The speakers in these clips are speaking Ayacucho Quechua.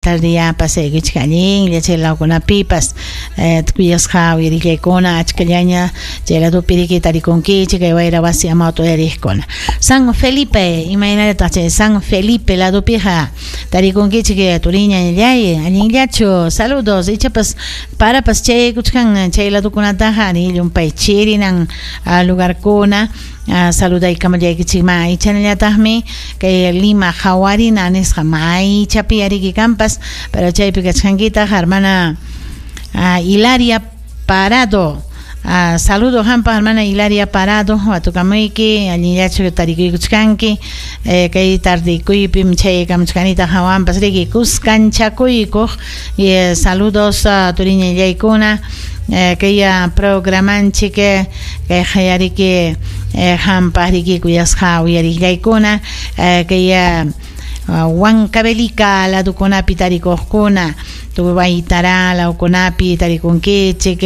Tardeyá pasaykuchik allinlla chay lawkunapipas kuyasqa uyarillaykuna achkallaña chay ladopi riki tarikunkichik kay wayra wasi amawta uyariqkuna. San Felipe, imaynallataq chay San Felipe ladopiqa tarikunkichik turiñallay, allinllachu? Saludos, ichapas parapas chayaykuchkan chay ladokunataqa ari llumpay chirinan lugarkuna. Saludaykamullaykichikman ichanallataqmi kay Lima Hawarina nisqa maychapi ariki kanpas, pero chaypi kachkankitaq hermana Hilaria Parado. Saludo hampaq hermana Hilaria Parado, watukamuyki, allinllachu tarikuykuchkanki, kay tardekuypim chayaykamuchkanitaq hawanpas riki kuskanchakuykuq. Saludos turiñallaykuna. Kay programanchik kay qayariki hampaq riki kuyasqa uyariqllaykuna kay Huancavelica ladokunapi tarikuqkuna, Tubaytara lawkunapi tarikunkichik,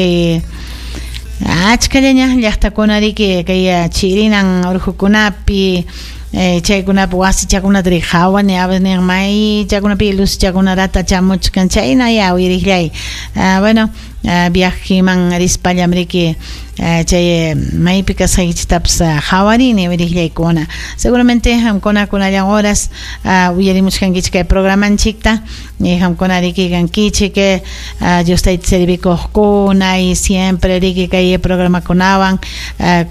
achkallaña llaqtakuna riki kay chirinan urqukunapi chaykunapi wasichakunata riki qawani a veces maychakunapi luzchakunarata chamuchkan chayna ya uyariqllay. Bueno, viajeman rispallam riki chay maypi kasqaykichiktapas qawarini uyariqllaykuna. Seguramente qamkuna kunallan horas uyarimuchkankichik kay programanchikta qamkuna riki kankichik Dios tayta servikuqkuna y siempre riki kay programakunawan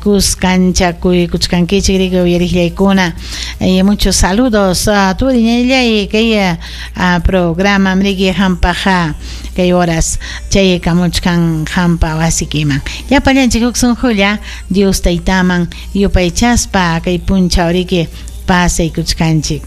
kuskanchakuykuchkankichik riki uyariqllaykuna. Y muchos saludos turiñallay kay programam riki qampaq kay horas chayaykamuchkan qampa wasikiman. Llapallanchik huk sunqulla Dios taytaman yupaychaspa kay punchaw riki pasaykuchkanchik.